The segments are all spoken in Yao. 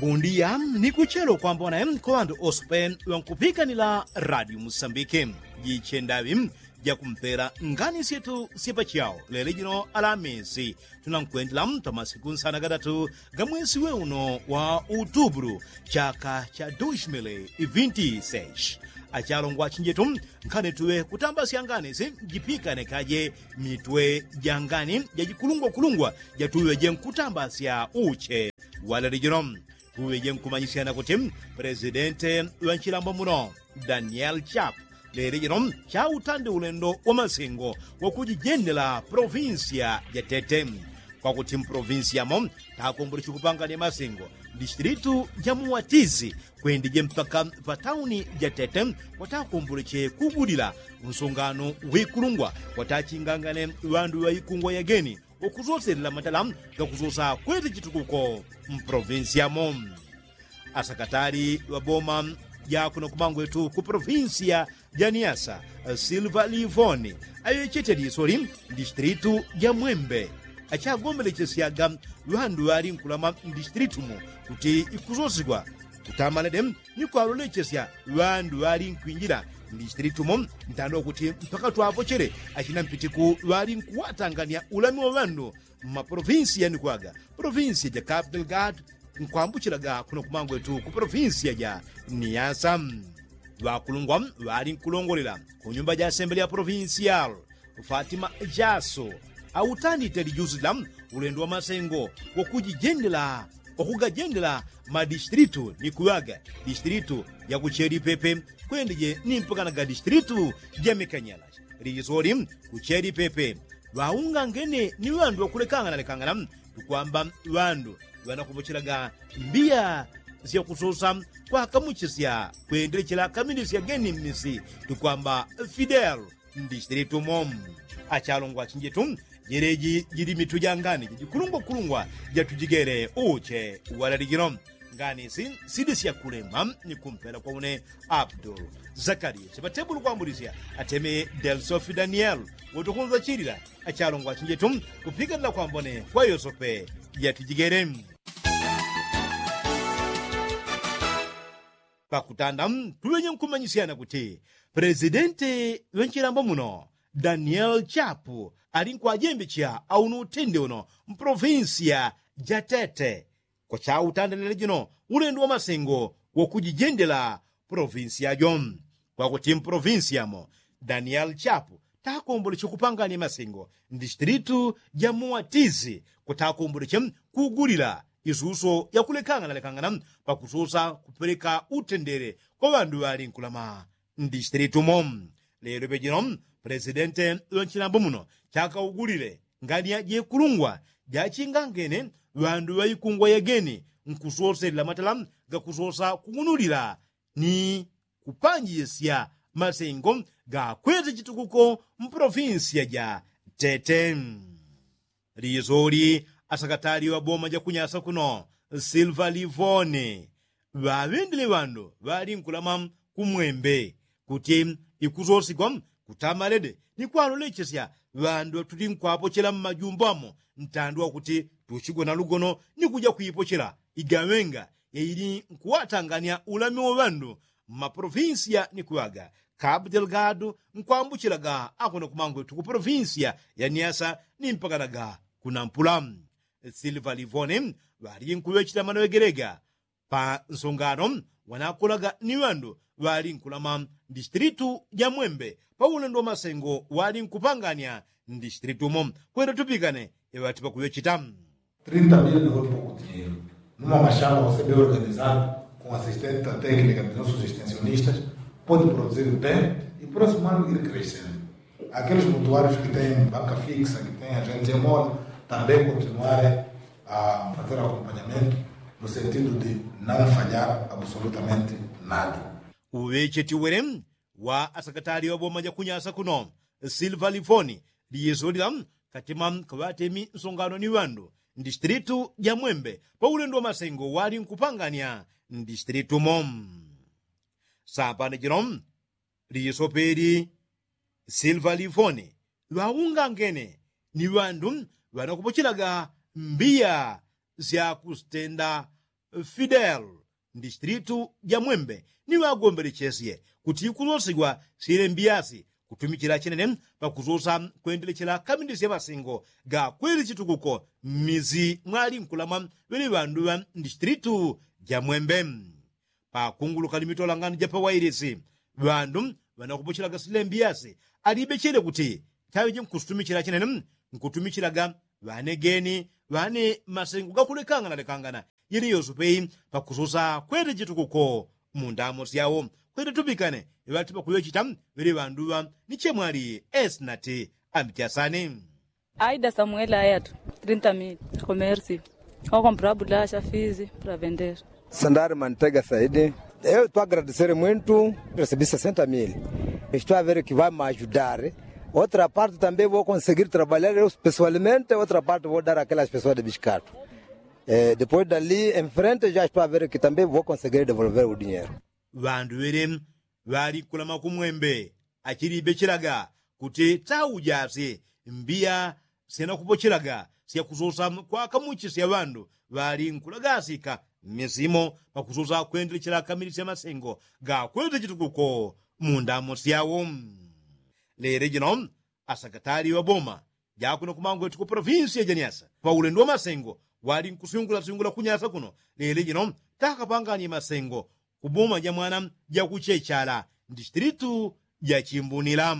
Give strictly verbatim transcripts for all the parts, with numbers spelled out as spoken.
Bundiya ni kuchelo kwambona kwa ŵandu ose pe ŵankupikanila radio musambike. Jichendaŵi jakumpela ngani syetu syepachao lele jino alamisi. Tunankwendela pa masiku nsana gadatu ga mwesi we uno wa utubulu chaka cha dushimili vinti seshi. Achalongwa achinjetu, nkhani tuŵe kutambasya ngani si jipikane kaje mitwe ja ngani jajikulungwakulungwa jatuŵe jenkutambasya uche. Walele jino tuŵe jenkumanyisyana kuti, pulesidente ŵanchilambo muno daniel chap lele jino chautande ulendo wa masengo wakujijendela polovinsiya ja tete. Kwakuti mpolovinsiya mo takomboleche kupangane masengo, distilitu ja muwatizi kwendije mpaka pa tauni ja tete kwatakomboleche kugulila nsungano wikulungwa kwatachingangane ŵandu ŵaikungwa yageni wakusoselela matala gakusosa kwete chitukuko mpolovinsiya mo. Asakatali ŵaboma jakuno kumangwetu ku polovinsiya ja niasa silva livoni aŵechete lisoli, distilitu ja mwembe achagombelechesyaga ŵandu ŵalinkulama mdistilitu mo kuti ikusosigwa kutamalede ni kwalolechesya ŵandu ŵalinkwinjila mdistilitu mo. Ntando kuti mpaka twapochele achina mpitiku ŵalinkuwatangania ulami wa ŵandu mmapolovinsiya ni kwaga polovinsiya ja capital gad nkwambuchilaga kuno kumangwetu ku polovinsiya ja niasa. Ŵakulungwa ŵalinkulongolela kunyumba ja asembele ya polovinsiyal fatima jaso autandite lijusi la ulendo wa masengo wakujijendela wakugajendela madistilitu ni kuŵaga distilitu ja kucheli pepe kwendije ni mpakanaga distilitu ja mikanyala. Lisoli kucheli pepe ŵaungangene ni ŵandu ŵakulekangana lekangana tukwamba ŵandu ŵanakupochelaga mbiya syakusosa kwakamuchisya kwendelechela kamilisya geni mmisi tukwamba fidel mdistilitu mo. Achalongwa achinjetu jeleji jili mitu ja ngani jajikulungwakulungwa jatujigele uche walalijilo. Ngani si sili syakulemba ni kumpela kwa une abdul zakariya chipatebulu kwambulisya ateme delsofi daniel wotukunza chilila achalongwa achinjetu kupiganila kwambone kwa yosope jatujigele. Pakutanda tuŵenye nkumanyisyana kuti pulesidente ŵanchilambo muno daniel chapu alinkwajembecha auno utende uno mpolovinsiya ja tete kwachautandalile jino ulendo wa masengo wakujijendela polovinsiya jo. Kwakuti mpolovinsiya mo daniel chapu takomboleche kupangania masengo mdistilitu ja muwatizi kwatakomboleche kugulila isuso yakulekangana lekangana pakususa kupeleka utendele kwa ŵandu ŵalinkulama mdistilitu mo. Lelo pejino pulesidente ŵanchilambo muno chakaugulile ngani ya jekulungwa jachingangene ŵandu ŵaikungwa yageni nkusoselela matala gakusosa kugunulila ni kupanjisya masengo gakwete chitukuko mpolovinsiya ja tete. Lisoli asakatali ŵaboma jakunyasa kuno silva livoni ŵaŵendele ŵandu ŵalinkulama kumwembe kuti ikusosigwa kutamalede ni kwalolechesya ŵandu ŵatulinkwapochela mmajumbo amo ntandi wakuti tuchigona lugono ni kuja kuipochela igaŵenga yaili nkuŵatangania ulami wa ŵandu mmapolovinsiya ni kuŵaga kapu delgado nkwambuchilaga akuno kumangwetu ku polovinsiya ya niasa ni mpakanaga kunampula. Silva livoni ŵalinkuŵechela manoŵegelega pa nsongano wanakulaga ni ŵandu ŵalinkulama mdistilitu ja mwembe pa ulendo wa masengo walinkupangania mdistilitu mo. Kwenda tupikane eŵati pakuŵecheta. Trinta mil no é pouco dinheiro. Numa machada você bem organizado, com assistência técnica dos nossos extensionistas, pode produzir bem e próximo ano ir crescendo. Aqueles mutuários que têm banca fixa, que têm agente em mola, também continuarem a fazer acompanhamento no sentido de não falhar absolutamente nada. Uŵecheti wele wa asakatali ŵaboma jakunyasa kuno silva livoni liyesolila katima kaŵatemi nsongano ni ŵandu mdistilitu ja mwembe pa ulendo wa masengo walinkupangania mdistilitu mo. Sapano jino lisopeli silva livoni ŵaungangene ni ŵandu ŵanakupochelaga mbiya syakusitenda Fidel, ndistritu ja mwembe ni ŵagombelechesye kuti ikusosigwa sile mbiyasi kutumichila chinene pakusosa kwendelechela kamindisya masengo ga kweli chitukuko mmisi mwalinkulamwa ŵele ŵandu ŵa ndistritu ja mwembe. Pakunguluka ni mitolangano ja pawailisi ŵandu ŵanakupochelaga sile mbiyasi alibechele kuti taŵeje nkusutumichila chinene nkutumichilaga ŵanegeni ŵane masengo gakulekangana lekangana yele yosupe pakususa kwete chitukuko mu ndamo syawo kwete tupikane ŵati pakuŵechita ŵele ŵanduŵa ni chemwali esinati ambichasani. Aida samuel ayatu trinta mil. Komersi okomprabula shafizi pravender. Sandari mantega saidi. Eu tu agradesere mwintu resibi sesenta mil. Estu avere ki va majudare. Otra parte tambe vo konsegir trabalyar eu pesoalmente otra parte vo dara akelas pesoa de biskatu. Depois dali enfrente ja estu avere ki tambe vo konsegir devolver u dinheru. Ŵandu ŵele ŵalikulama kumwembe achilibechelaga kuti taujasye mbiya syanakupochelaga syakusosa kwakamuchisya ŵandu ŵalinkulagasika mmisimo pakusosa kwendelechela kamili sya masengo gakwete chitukuko mu ndamo syawo. Lele jino asakatali ŵa boma jakuno kumangwetu ku polovinsiya ja nyasa paulendo wa masengo walinkusyungulasyungula ku nyasa kuno lele jino takapanganye masengo ku boma ja mwana ja kuchechala ndistilitu ja chimbunila.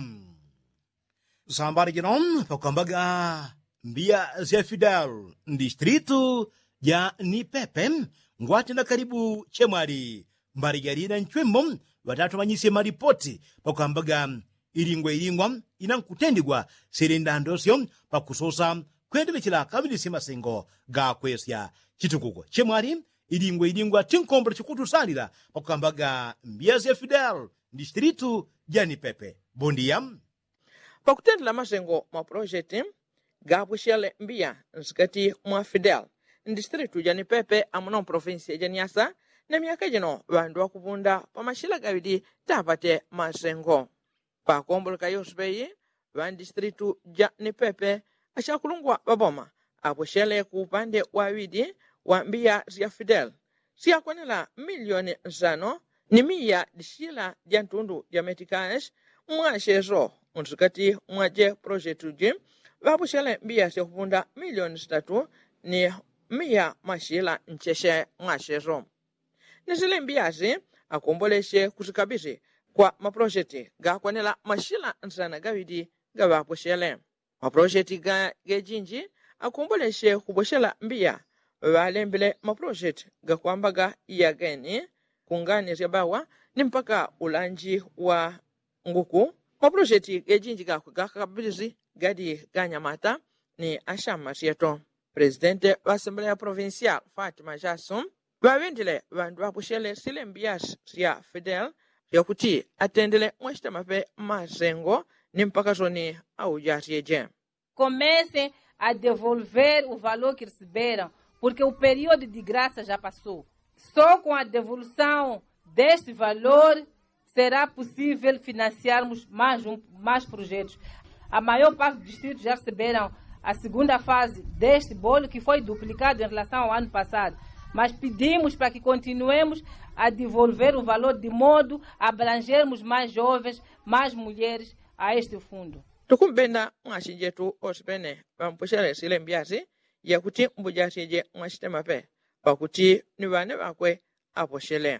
Sambali jino pakwambaga mbiya sya fidel ndistilitu ja nipepe ngwatenda kalibu chemwali mbali jalina nchwimbo ŵatatumanyisye malipoti pakwambaga ilingwa ilingwa inankutendigwa sili ndandosyo pakusosa kwendelechela kamilisye masengo gakwesya chitukuko chemwali ilingwa ilingwa tinkombole chikutusalila pakwambaga mbiya sya fidel ndistilitu ja nipepe. Bondia. Pakutendela masengo mwa pulosheti gapwishele mbiya nsikati mwa fidel ndistilitu ja nipepe amuno mpolofinsiya ja nyasa na myaka jino ŵandu ŵakupunda pa mashila gaŵili tapate masengo. Pakomboleka yosepeyi ŵandistilitu ja nipepe ashakulungwa ŵaboma apwishele ku upande waŵili wa mbiya sya fidel syakwanela milioni nsano ni miya dishila dya ntundu dya metikash. Mwasheso nsikati mwa je pulosheti ji ŵapwishele mbiya syakupunda milioni sitatu ni miya mashila ncheshe mwasheso. Ni sile mbiyasi akomboleshe kusikabisi kwa mapulosheti gakwanela mashila nsana gaŵili gaŵapweshele. Mapulosheti gejinji akomboleshe kuposhela mbiya ŵalembele mapulosheti gakwambaga yageni kungani sya bawa ni mpaka ulanji wa nguku. Mapulosheti gejinji gakwe gakakabilisi gali ganyamata ni ashamasyeto. Presidente ŵa asembleya provincial fatima jasu ŵaŵendile ŵandu ŵapushele sile mbiyasi sya fidel syakuti atendele mwashitemape masengo ni mpaka soni aujasyeje. Comece a devolver o valor que receberam porque o período de graça já passou. Só com a devolução deste valor será possível financiarmos mais projetos. A maior parte dos distritos já receberam a segunda fase deste bolo que foi duplicado em relação ao ano passado, mas pedimos para que continuemos a devolver o valor de modo a abrangermos mais jovens, mais mulheres a este fundo. Tukumbenda mwasinjetu osipene ŵampushele sile mbyasi yakuti mbujasyeje mwasitemape pakuti ni ŵane ŵakwe aposhele.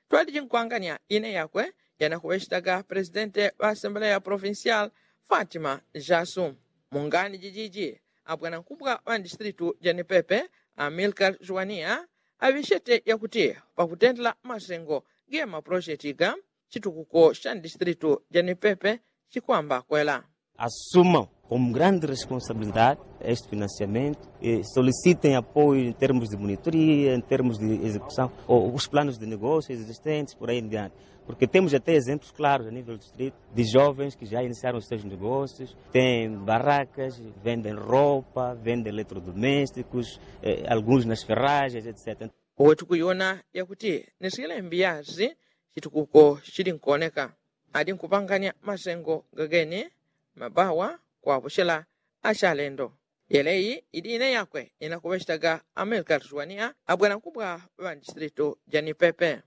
Twaliji nkwanganya ine yakwe yanakuŵechitaga presidente ŵa asembleya provincial fatima jasu. Mungani jijiji abwanankubwa ŵa ndistilitu ja nipepe amilkar juwania aŵechete yakuti pakutendela masengo ge mapulosheti ga chitukuko sha ndistilitu ja nipepe chikwamba kwela. Assumam como grande responsabilidade este financiamento, solicitem apoio em termos de monitoria em termos de execução, os planos de negócios existentes por aí em diante, porque temos até exemplos claros a nível do distrito de jovens que já iniciaram os seus negócios, tem barracas, vendem roupa, vendem eletrodomésticos, alguns nas ferragens etc. Uwe tukuyona yakuti ni sile mbyasi chitukuko chilinkoneka. Alinkupanganya masengo gageni mabawa kwapushela ashalendo. Yeleyi idi ine yakwe inakuŵechitaga amelika liswania abwanankubwa ŵa ndistilito ja nipepe.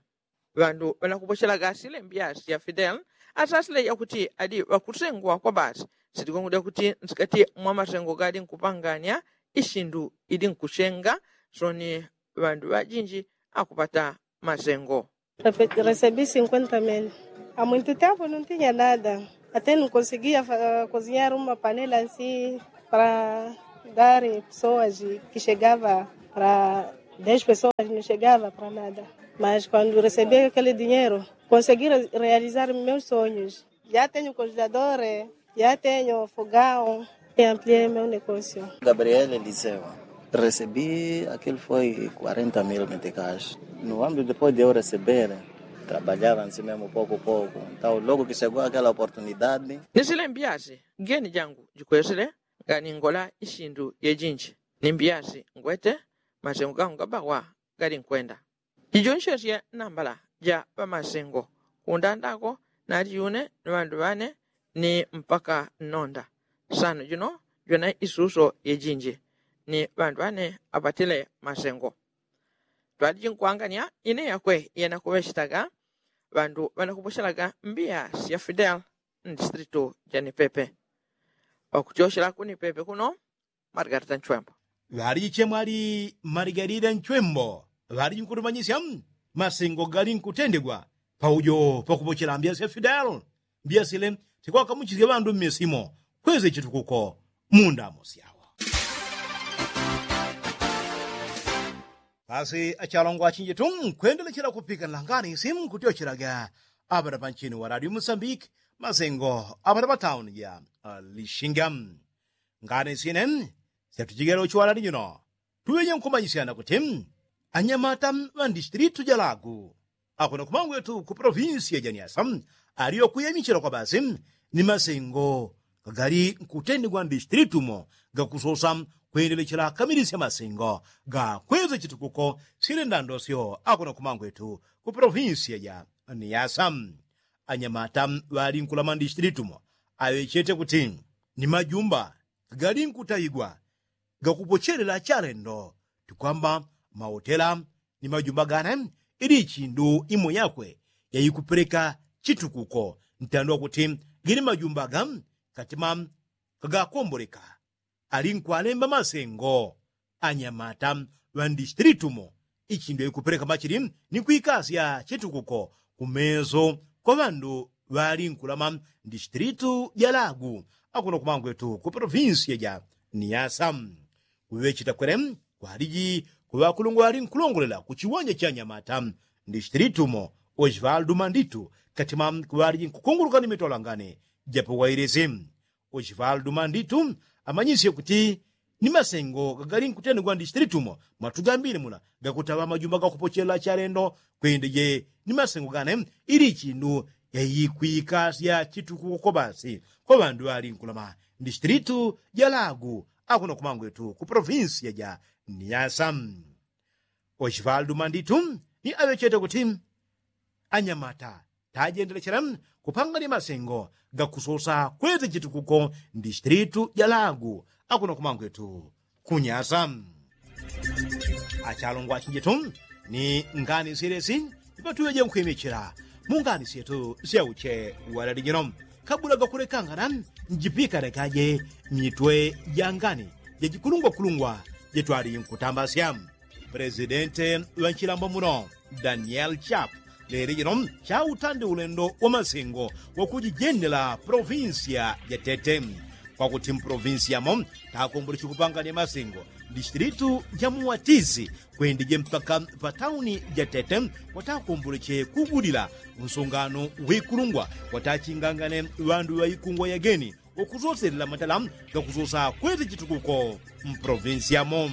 Ŵandu ŵanakupochelaga sile mbiyasi ya fidel asasile yakuti adi ŵakusengwa kwa basi. Sitikwengudya kuti nsikati mwa masengo gali nkupangania isindu idi nkusenga soni ŵandu ŵajinji akupata masengo. Resebi sinkwenta mili. Amwinti tapu nuntinya nada. Ate nukonsiguia kozinyara uma panela nsi para dari pesoas kishegava para dez pesoas nishegava para nada. Mas kwandu resebi kele dinheru konsiguia realizar meus sonyos. Ya tenho konjladore, ya tenho fogaun. Amplia meu negosio. Gabriel eliseu. Resebi akil foi quarenta mil metikasi. No ambiu depois de eu reseber trabalhava nsi memu poku poku. Ntau logu kisegua akela oportunidade. Nisile mbiasi geni jangu jikwesile nganingola isindu yejinji. Ni mbiasi ngwete masengo gangu gabawa gali nkwenda. Jijonshesye nambala ja ŵamasengo kundandako nali june ni ŵandu ŵane ni mpaka nnonda. Sano jino jona isuso yejinji ni ŵandu ŵane apatile masengo. Twaliji nkwangania ine yakwe yenakuŵechitaga ŵandu ŵanakupochelaga mbiasi ya fidel. Ndistritu ja nipepe ŵakutyochela ku nipepe kuno. Margarita nchwembo. Ŵaliji chemwali margarita nchwembo ŵaliji nkutumanyisya masengo gali nkutendegwa paujo pakupochela mbiasi ya fidel. Mbiasile tikwakamuchisya ŵandu mmisimo kweze chitukuko mundamo syawo. Pasi achalongo achinjitu nkwendelechela kupika nlangani simu nkutyochelaga apata panchini wa radio musambiki masengo apata patauni ja lishinga. Ngani sine syatuchigela uchiwalali jino tuŵeje nkumanyisyana kuti anyamata ŵa ndistilitu ja lagu akuno kumangwetu ku polovinsiya ja niasa aliyo kuyamichila kwa basi ni masengo gagali nkutendegwa ndistilitu mo gakusosa kwendelechela kamilisya masengo gakweza chitukuko syele ndandosyo akuno kumangwetu ku polovinsiya ja niasa. Anyamata ŵali nkulama ndistilitu mo aŵechete kuti ni majumba gagali nkutayigwa gakupochelela chalendo tikwamba maotela ni majumba gane ili ichindu imo yakwe yaikupeleka chitukuko ntandwa kuti gili majumba ga katima kagakomboleka ali nkwalemba masengo anyamata ŵa ndistilitu mo ichindu yaikupeleka machili ni kwikasya chitukuko kumeso kwa ŵandu ŵali nkulama ndistilitu ja lagu akuno kumangwetu ku polovinsiya ja niasa. Kuŵechita kwele kwaliji kuŵakulungwa ŵali nkulongolela kuchiwanja cha nyamata ndistilitu mo osvaldu manditu katima kuŵaliji nkukunguluka ni mitolangane japo wailisi. Osvaldu manditu amanyisye kuti ni masengo gagali nkutendegwa ndistilitu mo mwatugambile mula gakutaŵa majumba gakupochelela chalendo kwendeje ni masengo gane ili ichindu yaikwikasya chitukuko kwa basi kwa ŵandu ŵali nkulama ndistilitu ja lagu akuno kumangwetu ku polovinsiya ja niasa. Osvaldu manditu ni aŵechete kuti anyamata tajendelechela kupanga ni masengo gakusosa kweza chitukuko ndistilitu ja lagu akuno kumangwetu kunyasa. Achalongo achinjetu ni ngani silesi ipatuŵeje nkhwimichila mu ngani syetu syauche walali jino kabula gakulekangana njipikanekaje mitwe ja ngani jajikulungwakulungwa jetwali nkutambasya. Presidente ŵa nchilambo muno daniel chap leli jino chautandi ulendo wa masengo wakujijendela polovinsiya ja tete kwakuti mpolovinsiya mo takomboleche kupangania masengo ndistilitu ja muwatizi kwendije mpaka pa tauni ja tete kwatakomboleche kugulila unsungano wikulungwa kwatachingangane ŵandu ŵaikungwa yageni wakusoselela matala gakusosa kwete chitukuko mpolovinsiya mo.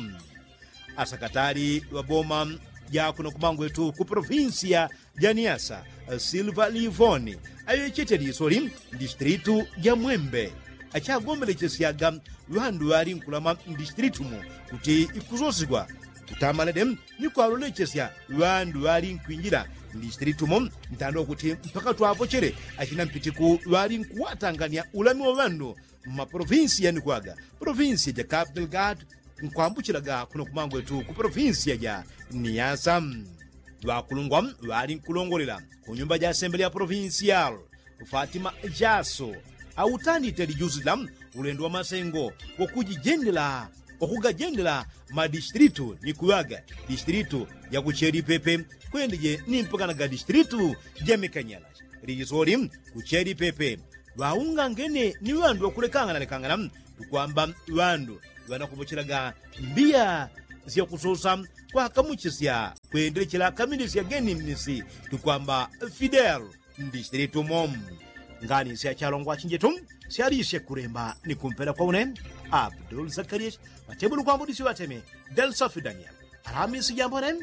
Asakatali ŵa boma ja kuno kumangwetu ku polovinsiya ja niasa silva livoni aŵechete lisoli ndistilitu ja mwembe achagombelechesyaga ŵandu ŵali nkulama ndistilitu mo kuti ikusosigwa kutamalede ni kwalolechesya ŵandu ŵali nkwinjila ndistilitu mo ntandwa kuti mpaka twapochele achina mpitiku ŵali nkuwatangania ulami wa ŵandu mmaprovinsiya ni kuŵaga provinsiya ja capital gad nkwambuchilaga kuno kumangwetu ku provinsiya ja niyasa. Ŵakulungwa ŵali nkulongolela ku nyumba ja asembele ya provinsiyal fatima jaso autandite lijusi lila ulendo wa masengo wakujijendela wakugajendela madistilitu ni kuŵaga distilitu ja kucheli pepe kwendeje ni mpakana ga distilitu ja mikanyala. Lijisoli kucheli pepe ŵaungangene ni ŵandu ŵakulekangana lekangana tukwamba ŵandu ŵanakupochelaga mbiya syakusosa kwakamuchisya kwendelechela kamilisya geni mmisi tukwamba fidel ndisitelitumo. Ngani syachalongwa chinjetu syalisye kulemba ni kumpela kwa une abdul zakariya ŵatebulu kwambudisyo ŵateme delsofi daniel alamisi jambone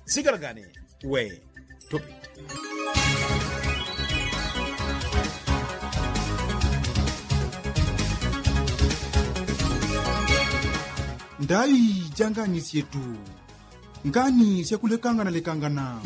sigalagane we tupite. Ndaŵi janganisyetu ngani syakulekangana lekangana.